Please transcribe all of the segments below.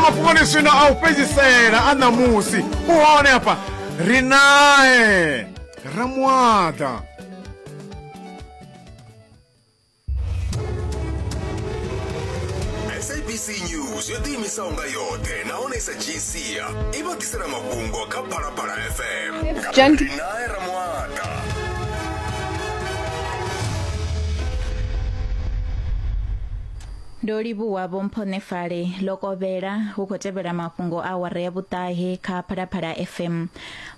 mafhungoni zwino a u fhedzisela a ṋamusi u hone hafha ri nae Ramuaḓa. SABC News yo ḓiimisaho nga yoṱhe nahone i sa dzhii sia i vha ḓisela mafhungo kha Phalaphala FM nga Rinae Ramuaḓa. Ndo livhuwa Vho Mphonefale ḽo kovhela hu khou tevhela mafhungo a awara ya vhuṱahe kha Phalaphala FM.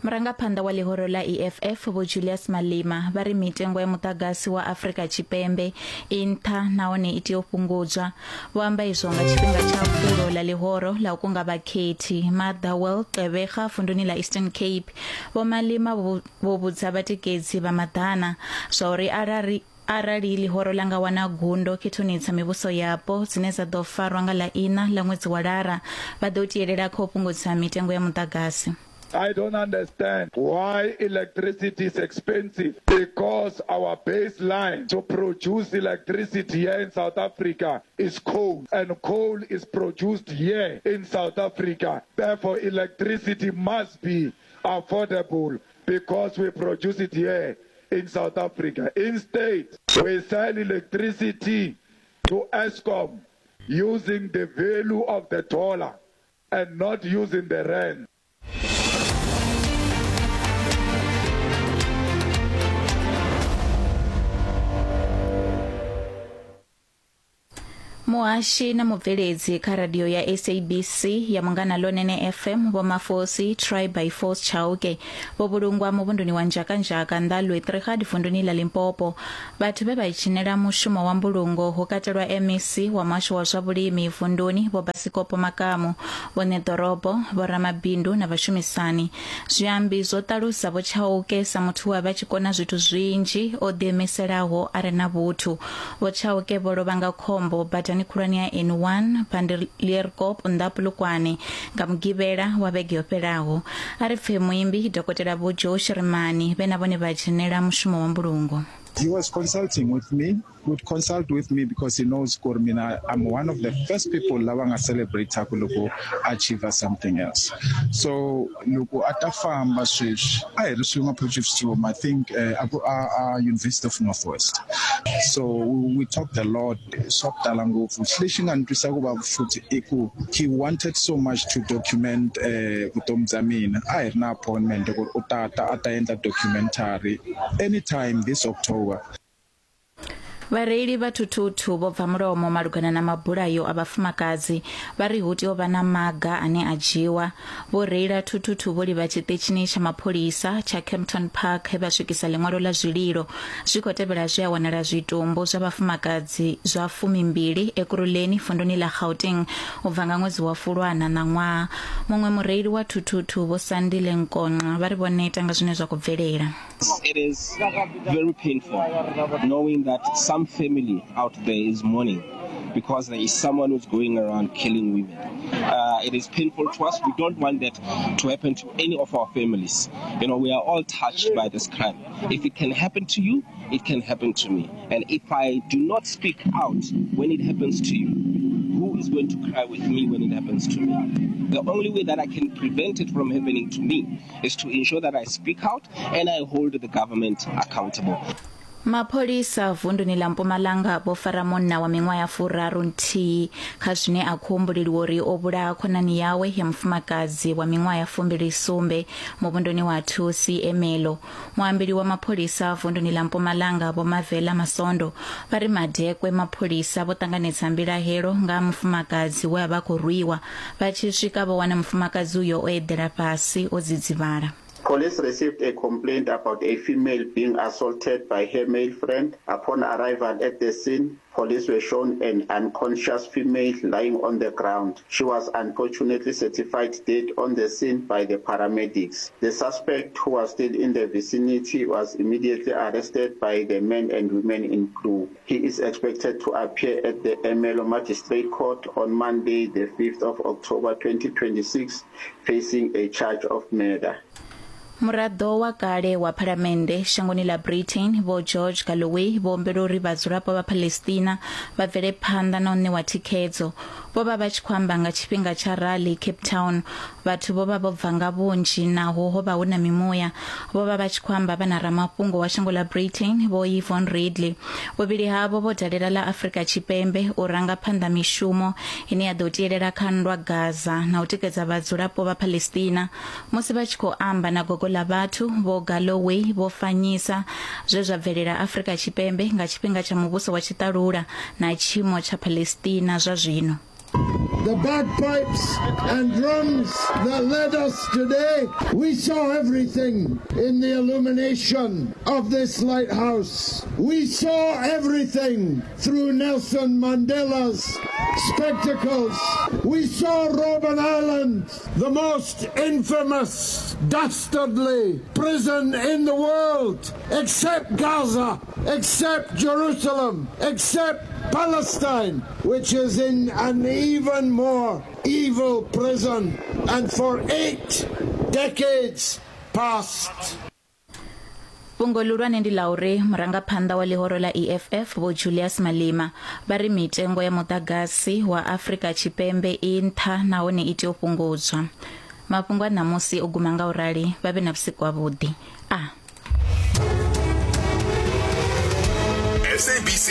Murangaphanḓa wa ḽihoro ḽa EFF Vho Julius Malema vha ri mitengo ya muḓagasi wa Afrika Tshipembe i nṱha nahone i tea u fhungudzwa. Vho amba izwo nga tshifhinga tsha fulo ḽa ḽihoro ḽa u kunga vhakhethi Motherwell Gqeberha vunduni ḽa Eastern Cape. Vho Malema vho vhudza vhatikedzi vha maḓana zwa uri arali Arali ḽihoro ḽa nga wana gundo khethoni dza mivhuso yapo dzine dza ḓo farwa nga ḽa iṋa ḽa ṅwedzi wa Lara, vha ḓo tielela kha u fhungudza mitengo ya muḓagasi. I don't understand why electricity is expensive because our baseline to produce electricity here in South Africa is coal and coal is produced here in South Africa. Therefore, electricity must be affordable because we produce it here in South Africa. Instead, we sell electricity to Eskom using the value of the dollar and not using the rand. Muhashi na mubveledzi kha radio ya SABC ya Munghana Lonene FM Vho Mafosi Try by Force Chauke vho vhulungwa muvhunduni wa Nzhakanzhaka nnḓa Lwetriga vunduni ḽa Limpopo. Vhathu vhe vha dzhenela mushumo wa mbulungo hu katelwa MEC wa muhasho wa zwa vhulimi vunduni Vho Basikopo Makamu, vho ṋeḓorobo, vho ramabindu na vhashumisani. Zwiambi zwo ṱalusa Vho Chauke sa muthu we a vha tshi kona zwithu zwinzhi, o ḓiimiselaho a re na vhuthu. Vho Chauke vho lovha nga khombo badani khulwane ya N1 Bandelierkop nnḓa Polokwane nga Mugivhela wa vhege yo fhelaho. A ri pfe muimbi Dokotela Vho Joe Shirimani vhe na vhone vha dzhenela mushumo wa mbulungo. He was consulting with me, would consult with me because he knows kuri mina I'm one of the first people lava nga celebrate ku loko achieve something else. So loko a ta famba sweswi a hi ri swin'we Potchefstroom I think uh, a ku a, a University of Northwest. So we talked a lot swa ku tala ngopfu. Lexi nga ni twisa ku vava futhi i ku he wanted so much to document uh, vutomi bya mina. A hi ri na appointment ku ri u ta ta a ta endla documentary anytime this October. Vhareili vha thuthuthu vho bva mulomo malugana na mabulayo a vhafumakadzi vha ri hu tea u vha na maga ane a dzhiwa. Vho reila thuthuthu vho livha tshiṱitshini tsha mapholisa tsha Kempton Park he vha swikisa ḽiṅwalo ḽa zwililo. Zwi khou tevhela zwe a wanala zwitumbu zwa vhafumakadzi zwa fumimbili Ekurhuleni vunduni ḽa Gauteng u bva nga ṅwedzi wa Fulwana ṋaṅwaha. Muṅwe mureili wa thuthuthu Vho Sandile Nkonqa vha ri vho neta nga zwine zwa khou bvelela. It is very painful knowing that some family out there is mourning because there is someone who's going around killing women. Uh, it is painful to us. We don't want that to happen to any of our families. You know, we are all touched by this crime. If it can happen to you, it can happen to me. And if I do not speak out when it happens to you, who is going to cry with me when it happens to me? The only way that I can prevent it from happening to me is to ensure that I speak out and I hold the government accountable. Mapholisa vunduni ḽa Mpumalanga vho fara munna wa miṅwaha ya furaru nthihi kha zwine a khou humbuleliwa uri o vhulaha khonani yawe ya mufumakadzi wa miṅwaha ya fumbili sumbe muvhunduni wa Thusi Emelo. Muambeli wa mapholisa vunduni ḽa Mpumalanga Vho Mavela Masondo vha ri madekwe mapholisa vho ṱanganedza mbilahelo nga ha mufumakadzi we a vha khou rwiwa. Vha tshi swika vho wana mufumakadzi uyo o eḓela fhasi o dzidzivhala. Police received a complaint about a female being assaulted by her male friend. Upon arrival at the scene, police were shown an unconscious female lying on the ground. She was unfortunately certified dead on the scene by the paramedics. The suspect, who was still in the vicinity, was immediately arrested by the men and women in blue. He is expected to appear at the Ermelo Magistrate Court on Monday, the 5th of October 2026, facing a charge of murder. Muraḓo wa kale wa phalamennde shangoni ḽa Britain Vho George Galloway vho humbela uri vhadzulapo vha Palestina vha bvele phanḓa na u ṋewa thikhedzo. Vho vha vha tshi khou amba nga tshifhinga tsha rali Cape Town. Vhathu vho vha vho bva nga vhunzhi naho ho vha hu na mimuya. Vho vha vha tshi khou amba vha na ramafhungo wa shango ḽa Britain Vho Yvonne Ridley. Vhuvhili havho vho dalela ḽa Afrika Tshipembe u ranga phanḓa mishumo ine ya ḓo tielela kha nndwa Gaza na u tikedza vhadzulapo vha Palestina. Musi vha tshi khou amba na gogo ḽa vhathu, Vho Galloway vho fanyisa zwe zwa bvelela Afrika Tshipembe nga tshifhinga tsha muvhuso wa tshiṱalula na tshiimo tsha Palestina zwa zwino. The bagpipes and drums that led us today, we saw everything in the illumination of this lighthouse. We saw everything through Nelson Mandela's spectacles. We saw Robben Island, the most infamous, dastardly prison in the world, except Gaza, except Jerusalem, except Palestine, which is in an even more evil prison, and for eight decades past. Fhungo ḽihulwane ndi ḽa uri murangaphanḓa wa ḽihoro ḽa EFF Vho Julius Malema vha ri mitengo ya muḓagasi wa Afrika Tshipembe i nṱha nahone i tea u fhungudzwa. Mafhungo a ṋamusi o guma nga u rali, vha vhe na vhusiku havhuḓi. A. SABC.